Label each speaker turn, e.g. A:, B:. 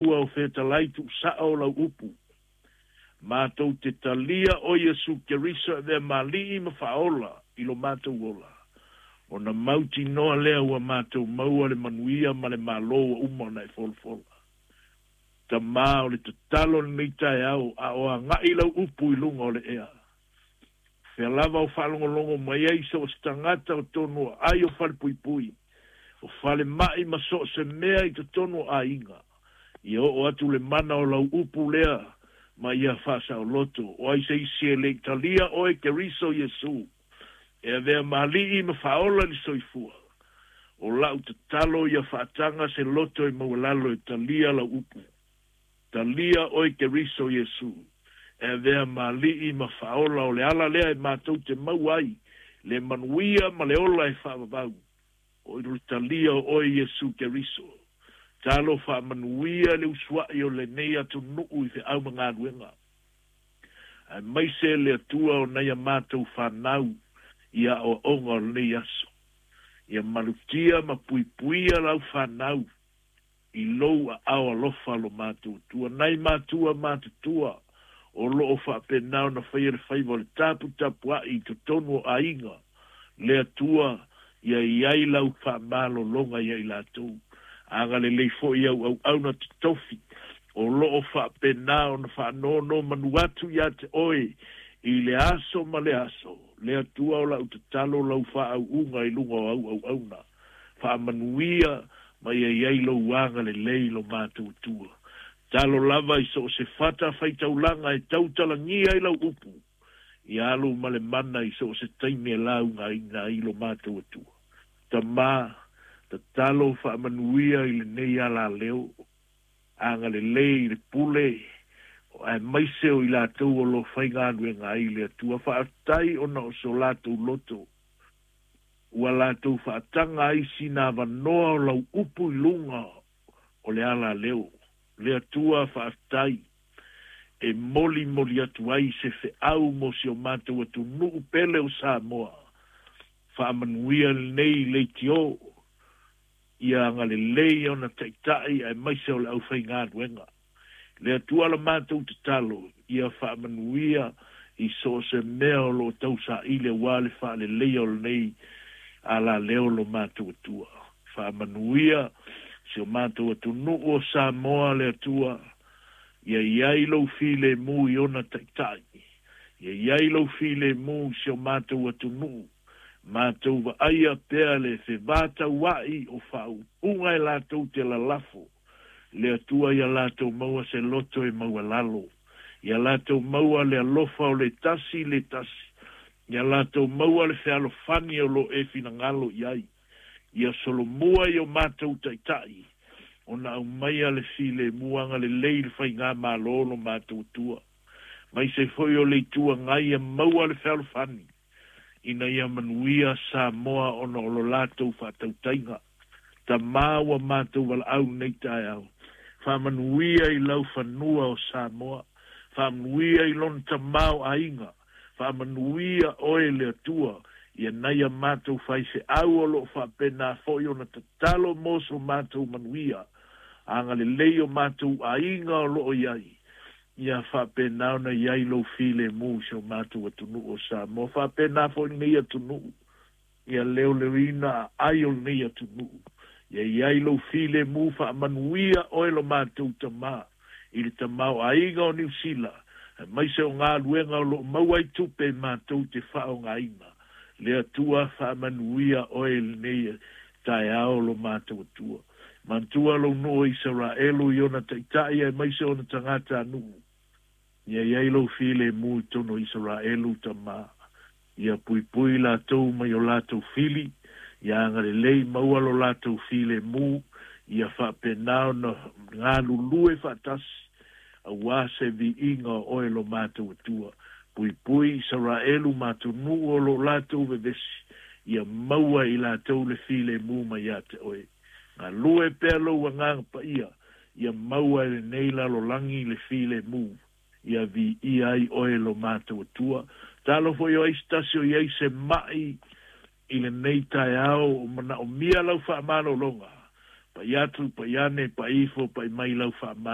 A: Ua o fetalai tuusao o lau upu. Matou te talia o Iesu Keriso e avea ma Alii ma Faaola i lo matou ola, ona mautinoa lea ua matou maua le manuia ma le Malo ua uma ona e folafola. Tama, o le tatalo i lenei taeao, a o agai lau upu i luga o le ea, fea lava o faalogologo mai ai so o se tagata o tonu o ai o falepuipui, o falemai ma so o se mea i totonu o aiga, ia oo atu le mana o lau upu lea ma ia faasaoloto. O ai se isi e le i talia oe Keriso Iesu e avea ma Alii ma Faaola i le soifua, o lau tatalo ia faataga se loto e maualalo e talia lau upu. Talia oe Keriso Iesu e avea ma Alii ma Faaola, o le ala lea e matou te maua ai le manuia ma le ola e faavavau, o i le talia o oe Iesu Keriso. Talo faamanuia le usuai o lenei atunuu i feau ma galuega, aemaise le Atua o nai a matou fanau i aoaoga o lenei aso. Ia malutia ma puipuia lau fanau i lou aao alofa lo matou Atua. Nai matua matutua o loo faapena ona faia le faiva o le taputapuai i totonu o aiga, le Atua ia i ai lau faamalologa ia i latou. Agalelei foi au auauna totofi o loo faapena ona faanonomanu atu ia te oe i le aso ma le aso. Le Atua o lau tatalo, lau faauuga i luga o au auauna, faamanuia ma ia i ai lou agalelei lo matou Atua. Talo lava i so o se fata faitaulaga e tautalagia i lau upu, ia alu ma le mana i so o se taimi e laugaina ai lo matou Atua. Tama, tatalo faamanuia i lenei alaleo, agalelei i le pule, aemaise o i latou o lo faigaluega ai le Atua. Faafetai ona o so latou loto, ua latou faataga ai sina avanoa o lau upu i luga o le alaleo. Le Atua faafetai e molimoli atu ai se feau mo si o matou atunuu pele o Samoa. Faamanuia lenei leitio, ia agalelei ona taitai aemaise o le aufaigaluega. Le Atua la matou tatalo, ia faamanuia i so o se mea o loo tausaili aua le faaleleia o lenei alaleo lo matou Atua. Faamanuia si o matou atunuu o Samoa. Le Atua, ia i ai lou filemu i ona taitai, ia i ai lou filemu i si o matou atunuu. Matou vaaia pea le fevataua'i o faaupuga e latou te lalafo. Le Atua, ia latou maua se loto e maualalo, ia latou maua le alofa o le tasi le tasi, ia latou maua le fealofani o lo e finagalo i ai. Ia solomua i o matou taitai ona aumaia le filemu. Agalelei le faigamalo lo matou Atua, maise foi o le Itu Agai, ia maua le fealofani ina ia manuia Samoa ona o lo latou faatautaiga. Tama, ua matou valaau nei taeao, faamanuia i lau fanua o Samoa, faamanuia i lona tamaoaiga, faamanuia oe le Atua ia nai a matou faifeau o loo faapena foi ona tatalo mo so matou manuia. Agalelei o matou aiga o loo i ai, ia faapena ona i ai lou filemu i si o matou atunuu o Samoa. Faapena foi lenei atunuu, ia leoleoina aai o lenei atunuu, ia i ai lou filemu. Faamanuia oe lo matou Tamā i le tamaoaiga o Niu Sila, aemaise o galuega o loo maua ai tupe matou te faaaogaina. Le Atua, faamanuia oe i lenei taeao lo matou Atua. Manatua lou nuu o Isaraelu i ona taitai aemaise ona tagatanuu. Ia i ai lou filemu i totonu o Isaraelu, Tama. Ia puipui latou mai o latou fili, ia agalelei maua lo latou filemu, ia faapena ona galulue faatasi aua se viiga o oe lo matou Atua. Puipui Isaraelu ma atunuu o lo latou vevesi, ia maua i latou le filemu mai ia te oe. Galue pea lou Agaga Paia, ia maua e lenei lalolagi le filemu, ia viia ai oe lo matou Atua. Talo foi o ai se tasi o i ai se mai i lenei taeao o manaomia lau faamalologa, pai atu, pai ane, pai ifo, pai mai lau faamalologa.